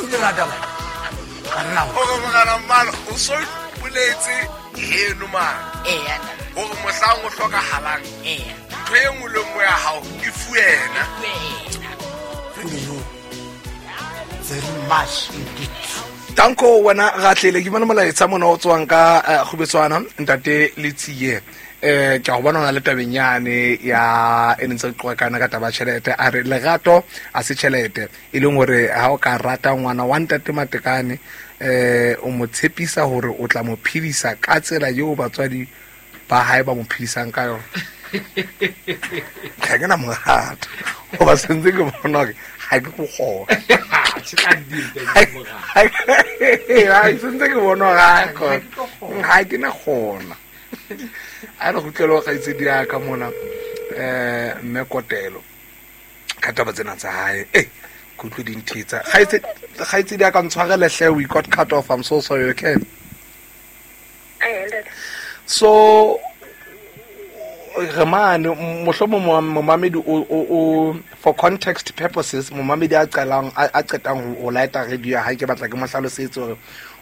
Utlwile na taba? Banna o. Gore morena mmalo o so ipoletse heno mane. Eya ntate. Gore mohlang o hlokahalang. Eya. Ntho e nngwe le nngwe ya hao e fuwe yena. Wena. Thank you very much indeed. Tanko wena Ratlele ke bona molaetsa mona o tswang ka Kgubetswana ntate Letsie. Ke a go bona o na le tabeng yane ya e neng tse qoqa kana ka taba ya tjhelete. A re lerato a se tjhelete, e leng hore ha o ka rata ngwana wa ntate Matekane, o mo tshepisa hore o tla mo phedisa ka tsela eo batswadi ba hae ba mo phedisang ka yona. Ga ke na morata goba sentse ke bona gore ga ke go kgona. Sentse ke bona gore ga ke na kgona. A re kgutlele ho kgaitsedi ya ka mona, mme Kotelo ka taba tsena tsa hae. Ke utlwe di nthetsa. Kgaitsedi ya ka, ntshwarele hle, we got cut off. I'm so sorry, okay? So re mane, mohlomong momamedi o, for context purposes, momamedi a qalang, a qetang ho lighta radio ya hae, ke batla ke mo hlalosetse hore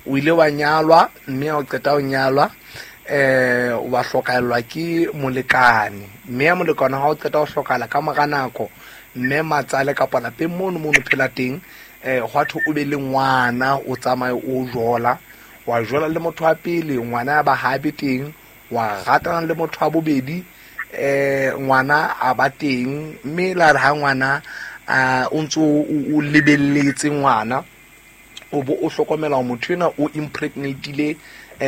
o ile wa nyalwa, mme ha o qeta ho nyalwa, wa hlokahellwa ke molekane. Mme ya molekane ha o qeta ho hlokahala ka mora nako, mme matsale kapa lapeng mono mono phela teng, hwa thwe o be le ngwana, o tsamaye o jola, wa jola le motho wa pele, ngwana ya ba ha be teng, wa ratana le motho wa bobedi, ngwana a ba teng, mme la re ha ngwana, o ntso o lebelletse ngwana, o bo o hlokomela hore motho enwa o impregnatile,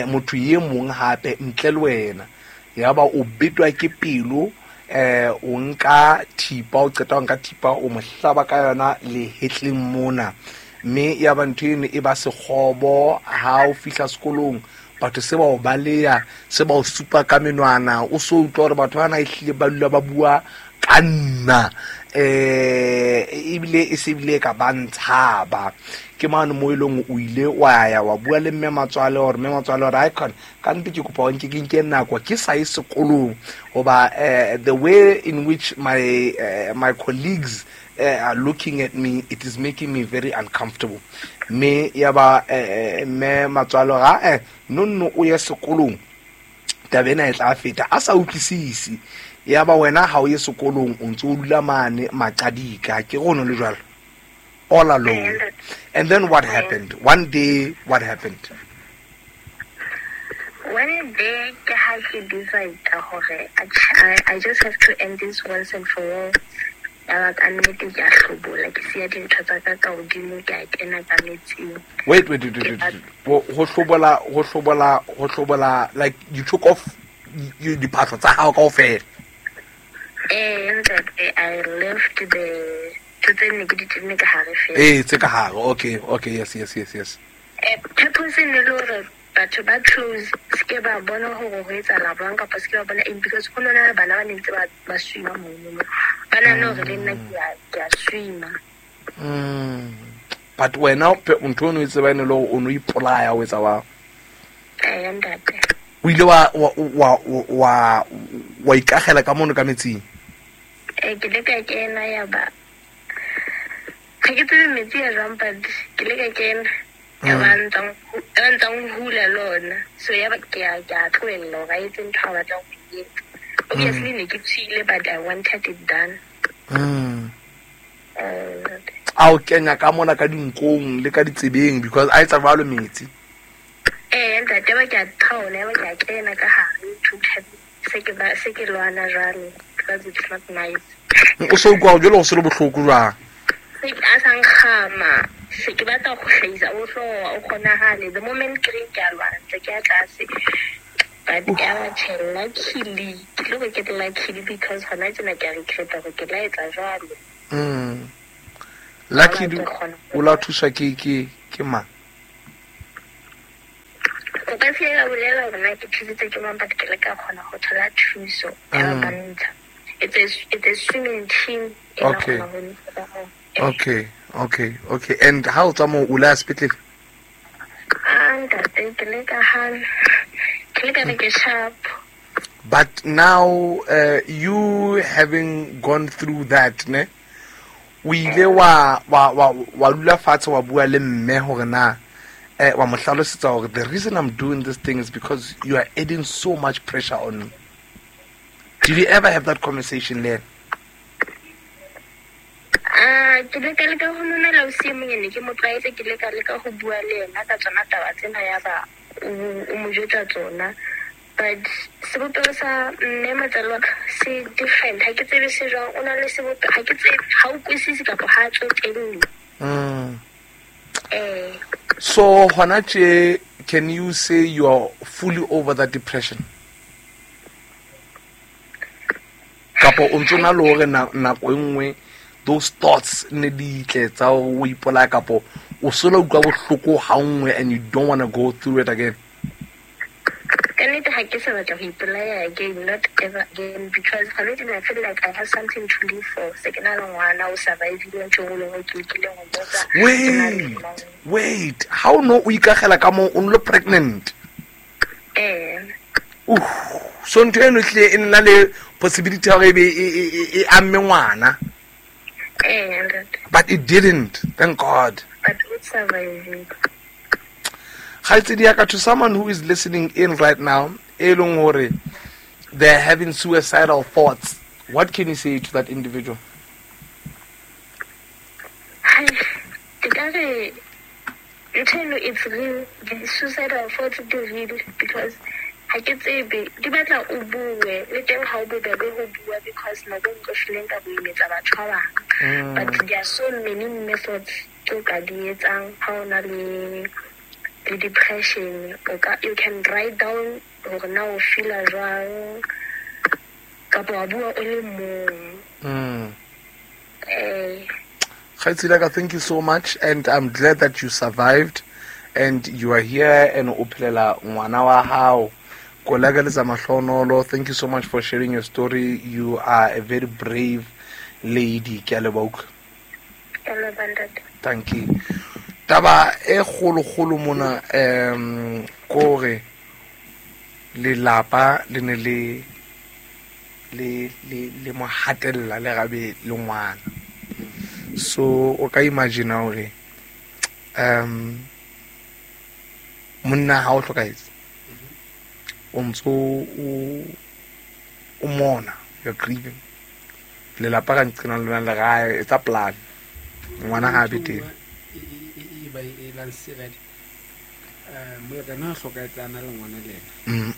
motho e mong hape ntle le wena. Ya ba o betwa ke pelo, o nka thipa, o qeta ho nka thipa, o mo hlaba ka yona lehetleng mona. Mme ya ba ntho eno e ba sekgobo ha o fihla sekolong, batho se ba o baleya, se ba o supa ka menwana, o so utlwa hore batho bana ehlile ba dula ba bua ka nna, ebile e se bile ka ba ntshaba. Ke mane mo e leng o ile wa ya wa bua le mme matswale hore mme matswale hore ai khona ka nnete ke kopa o nke ke nke nako ke sa ye sekolong, hoba, the way in which my colleagues are looking at me, it is making me very uncomfortable. Mme ya ba, mme matswalo ga, no, no, o ye sekolong, taba ena e tla feta, a sa utlwisise. Ya ba wena ha o ye sekolong, o ntse o dula mane maqadika, ke go no le jwalo, all alone. And then what happened? One day, what happened? One day, ke ha ke decide hore I just have to end this once and for all. Ya ba ka nnete ke a hlobola, ke siya dintho tsa ka ka hodimo, ke a kena ka metsing. Wait, wait, wait, wait, wait, wait. Ho hlobola, ho hlobola, ho hlobola, like you took off diphahlo tsa hao kaofela. Ntate, I left the ntho tse nne ke di tenne ka hare fela. Tse ka hare. Okay, okay, yes, yes, yes, yes. Purpose e ne le hore batho ba close se ke ba bona hore ho etsahala jwang kapa se ke ba bona eng, because ho nona le bana ba ne ntse ba swima mono. Ba nahana hore le nna ke a swima. But wena ntho eno e tseba e ne le hore o no ipolaya o etsa wa? Ntate. O ile wa ikagela ka mono ka metsing? Ke le ka kena ya ba. Ga ke tsebe metsi a jwang, but ke le ka kena. Ya ba ntsang hula le ona. So ya ba ke a tlohella hore a etse ntho a batlang ho e etsa. Obviously ne ke tswile, but I wanted it done. A o kenya ka mona ka dinkong le ka ditsebeng, because a etsa jwalo metsi. Ntate, ba ke a thaola, ya ba ke a kena ka hare, to se ke ba, se ke lwana jwalo, because it's not nice. O so utlwa jwalo, o se le bohloko jwang? Se ke a sa nkgama, se ke batla ho hlahisa, o hloha, o kgonahale. The moment ke reng ke a lwana, ntse ke ya tlase. But ya ba tjhe, luckily, ke tlo re ke luckily because hona tjena ke a regret hore ke la etsa jwalo. Luckily, Ba tlo kgona o la thuswa ke mang? O ka se ka bolela hore na ke thusitse ke mang, but ke le ka kgona ho thola thuso ya ba bantsha. It's a swimming team e la kgona ho ntsha ka moo. Okay, okay, okay. And how tswa moo, o la sepetlele? Ah, ntate, ke le ka hana. Ke le ka re ke sharp. But now, you having gone through that, ne? O ile wa wa wa wa dula fatshe wa bua le mme hore na wa mo hlalosetsa hore the reason I'm doing this thing is because you are adding so much pressure on me. Did you ever have that conversation le ena? Ke le ka leka ho mamela ausi e monyane, ke mo tlwaetse, ke le ka leka ho bua le yena ka tsona taba tsena, ya ba o mo jwetsa tsona. But sebopeho sa mme motswadi wa ka se different, ha ke tsebe se jwang, o na le sebopeho, ha ke tsebe, ha o kwisise kapa ha a tsotelle. So hona tje, can you say you are fully over that depression? Kapa o ntso na le hore nako e nngwe those thoughts ne di tle tsa hore o ipolaya, kapo o sola utlwa bohloko ha nngwe and you don't want to go through it again? Ka nnete ha ke sa batla ho ipolaya again, not ever again, because hona tjena I feel like I have something to live for. Se ke na le ngwana o survive-ile ntho e nngwe le nngwe ke lekileng ho mo etsa. Ke na le Wait, ngwana. wait, ha o no o ikakgela ka moo o nlo pregnant? So ntho eno ehlile e nna le possibility ya hore ebe e amme ngwana. Ntate. But it didn't, thank God. But o survive-ile. Kgaitsedi ya ka, to someone who is listening in right now, e leng hore they're having suicidal thoughts, what can you say to that individual? Hai, ke ka re ntho eno it's real, the suicidal thoughts di real, because ha ke tsebe, di batla o bue, le teng ha o bobebe ho bua, because nako e nngwe o hlileng ka bo imetsa batho ba bang. But there are so many methods tse o ka di etsang ha o na le depression. O ka, you can write down hore na o feel-a jwang, kapa wa bua o le mong. Kgaitsedi ya ka, thank you so much, and I'm glad that you survived and you are here and o phelela ngwana wa hao. Ko lakaletsa mahlonolo. Thank you so much for sharing your story. You are a very brave lady. Ke a leboha utlwa. Ke a leboha, ntate. Thank you. Taba e kgolo-kgolo mona, kore lelapa le ne le le le le mo hatella le gabe le ngwana. So o ka imagine hore monna ha o hlokahetse, o ntso o mona, you're grieving. Lelapa ka nqena lona le gae, it's a plan. Ngwana ha be teng. E ba e lansiredi. Molekane ha hlokahetse a na le ngwana le yena.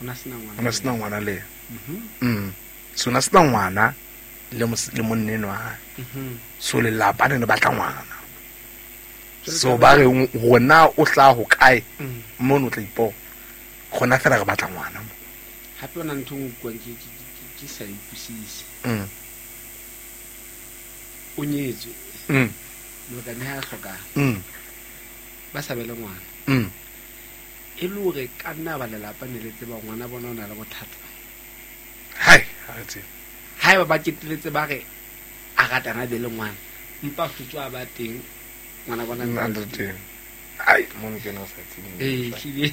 O na sena ngwana. O na sena ngwana le yena. So na sena ngwana le le monna enwa hae. So lelapa le ne batla ngwana. So ba re rona o hlaha ho kae? Mono o tla ipona. Rona fela re batla ngwana mo. Hape ona ntho e nngwe utlwang ke sa e utlwisise. O nyetswe. Molekane ha a hlokahala. Ba sa be le ngwana. E le hore ka nna ba lelapa ne le tseba ngwana bona o na le bothata. Hai, ha re tsebe. Haeba ba keteletse ba re a ratana be le ngwana, empa hlotso a ba teng ngwana bona Nna ntse a le le teng. Ai, mono ke no sa tsebe. Ehlile.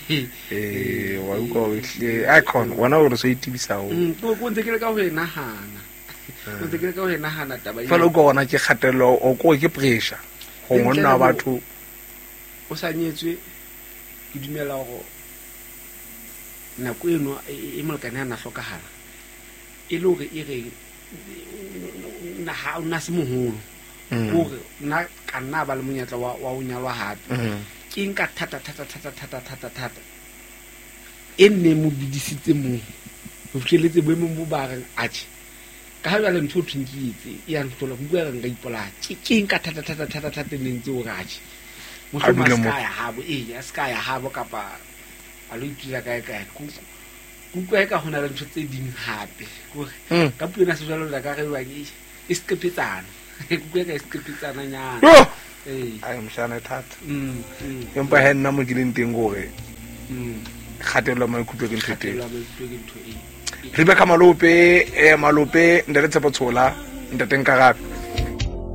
Wa utlwa hore ehlile, ai, khona, wena o re so itebisa haholo. Ko ntse ke leka ho e nahana. O ntse ke leka ho e nahana taba eo. Fela o utlwa hona ke kgatello, o ko ke pressure. Ho Le ntle monna wa le ho batho. O sa nyetswe, ke dumela hore nako eno e molekane ha na hlokahala, e le hore e reng, na ha o na se moholo. Hore nna ka nna ba le monyetla wa ho nyalwa hape. Ke nka thata, thata, thata, thata, thata, thata. E nne mo bidisitse moo. Ho fihlelletse boemong bo ba reng, atjhe. Ka ha jwale ntho o thweng ke etse, e ya nhlola, ke utlwa re nka ipolaya. Ke nka thata, thata, thata, thata e neng ntse hore atjhe. A Mohlomong a dule se moo. ka ya habo, ee, a se ka ya habo kapa a lo itula kae kae. Ke utlwa eka ho na le ntho tse ding hape. Ke hore ka puo ena sejwalejwale ka re jwang, e seqephetsana. Ke utlwa eka e seqephetsananyana. Yo! Ee. Ai, moshana e thata. Empa he nna mo ke leng teng ke hore kgatello ya maikutlo ke ntho e teng. Kgatello ya maikutlo ke ntho e. Rebecca Malope, Malope, Ntate Tshepo Tshola, Ntate Nkarabe.